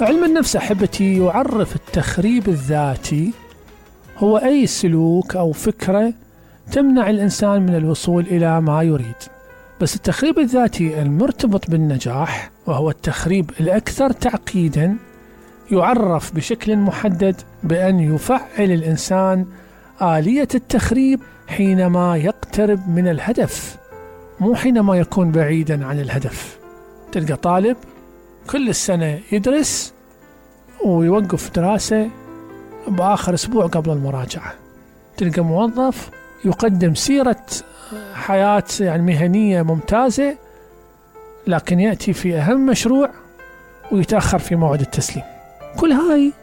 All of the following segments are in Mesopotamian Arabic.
علم النفس أحبتي يعرف التخريب الذاتي هو أي سلوك أو فكرة تمنع الإنسان من الوصول إلى ما يريد. بس التخريب الذاتي المرتبط بالنجاح، وهو التخريب الأكثر تعقيدا، يعرف بشكل محدد بأن يفعل الإنسان آلية التخريب حينما يقترب من الهدف، مو حينما يكون بعيدا عن الهدف. تلقى طالب كل السنة يدرس ويوقف دراسة بآخر أسبوع قبل المراجعة. تلقى موظف يقدم سيرة حياة مهنية ممتازة، لكن يأتي في أهم مشروع ويتأخر في موعد التسليم. كل هاي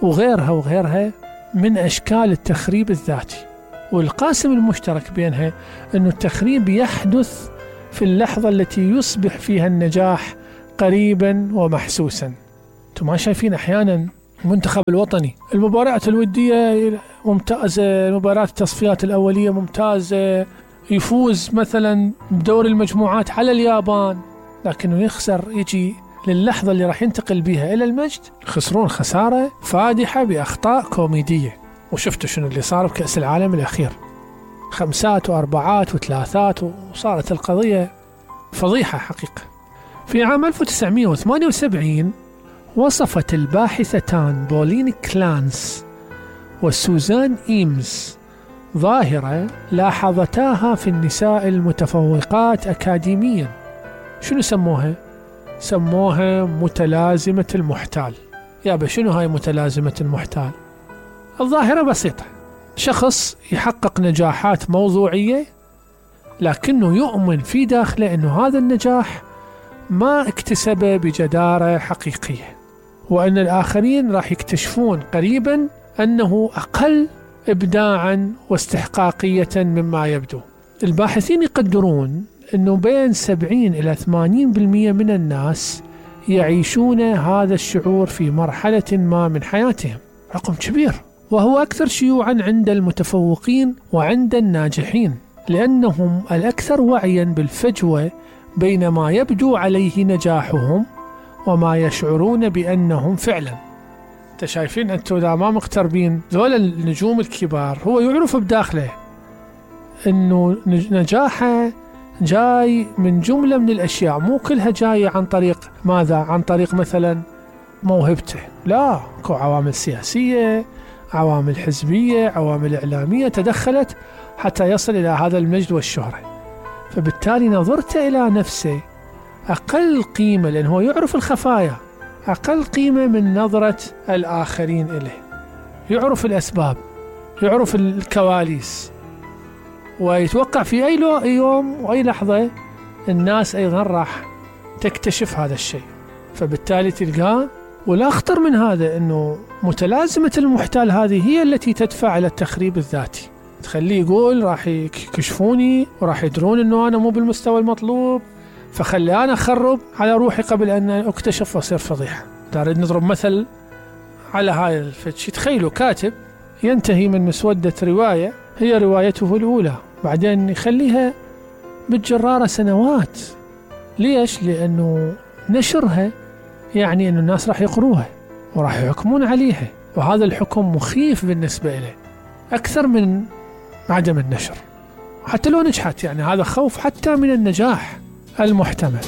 وغيرها من أشكال التخريب الذاتي، والقاسم المشترك بينها أن التخريب يحدث في اللحظة التي يصبح فيها النجاح قريبا ومحسوسا. انتم ما شايفين أحيانا المنتخب الوطني المباريات الودية ممتازة، المباريات التصفيات الأولية ممتازة، يفوز مثلا بدور المجموعات على اليابان، لكنه يخسر، يجي للحظة اللي راح ينتقل بها إلى المجد يخسرون خسارة فادحة بأخطاء كوميدية. وشفتوا شنو اللي صار بكأس العالم الأخير، 5 و4 و3، وصارت القضية فضيحة حقيقة. في عام 1978 وصفت الباحثتان بولين كلانس وسوزان إيمز ظاهرة لاحظتاها في النساء المتفوقات أكاديميا. شنو سموها؟ سموها متلازمة المحتال. يابا شنو هاي متلازمة المحتال؟ الظاهرة بسيطة، شخص يحقق نجاحات موضوعية لكنه يؤمن في داخله أنه هذا النجاح ما اكتسبه بجدارة حقيقية، وأن الآخرين راح يكتشفون قريبا أنه أقل إبداعا واستحقاقية مما يبدو. الباحثين يقدرون أنه بين 70 إلى 80% من الناس يعيشون هذا الشعور في مرحلة ما من حياتهم، رقم كبير، وهو أكثر شيوعا عند المتفوقين وعند الناجحين، لأنهم الأكثر وعيا بالفجوة بين ما يبدو عليه نجاحهم وما يشعرون بأنهم فعلا. انت شايفين انتوا اذا ما مقتربين ذول النجوم الكبار، هو يعرف بداخله انه نجاحه جاي من جملة من الاشياء، مو كلها جاية عن طريق ماذا؟ عن طريق مثلا موهبته، لا، اكو عوامل سياسية، عوامل حزبية، عوامل اعلامية تدخلت حتى يصل الى هذا المجد والشهرة. فبالتالي نظرته الى نفسه اقل قيمة، لانه هو يعرف الخفايا، أقل قيمة من نظرة الآخرين إليه، يعرف الأسباب، يعرف الكواليس، ويتوقع في أي يوم وأي لحظة الناس أيضا راح تكتشف هذا الشيء. فبالتالي تلقاه. والأخطر من هذا أنه متلازمة المحتال هذه هي التي تدفع إلى التخريب الذاتي، تخليه يقول راح يكشفوني وراح يدرون أنه أنا مو بالمستوى المطلوب، فخلي أنا أخرب على روحي قبل أن أكتشف وأصير فضيحة. تريد نضرب مثل على هاي الفتش. تخيلوا كاتب ينتهي من مسودة رواية هي روايته الأولى، بعدين يخليها بالجرارة سنوات. ليش؟ لأنه نشرها يعني أن الناس راح يقروها وراح يحكمون عليها، وهذا الحكم مخيف بالنسبة إليه أكثر من عدم النشر. حتى لو نجحت، يعني هذا خوف حتى من النجاح المحتمل.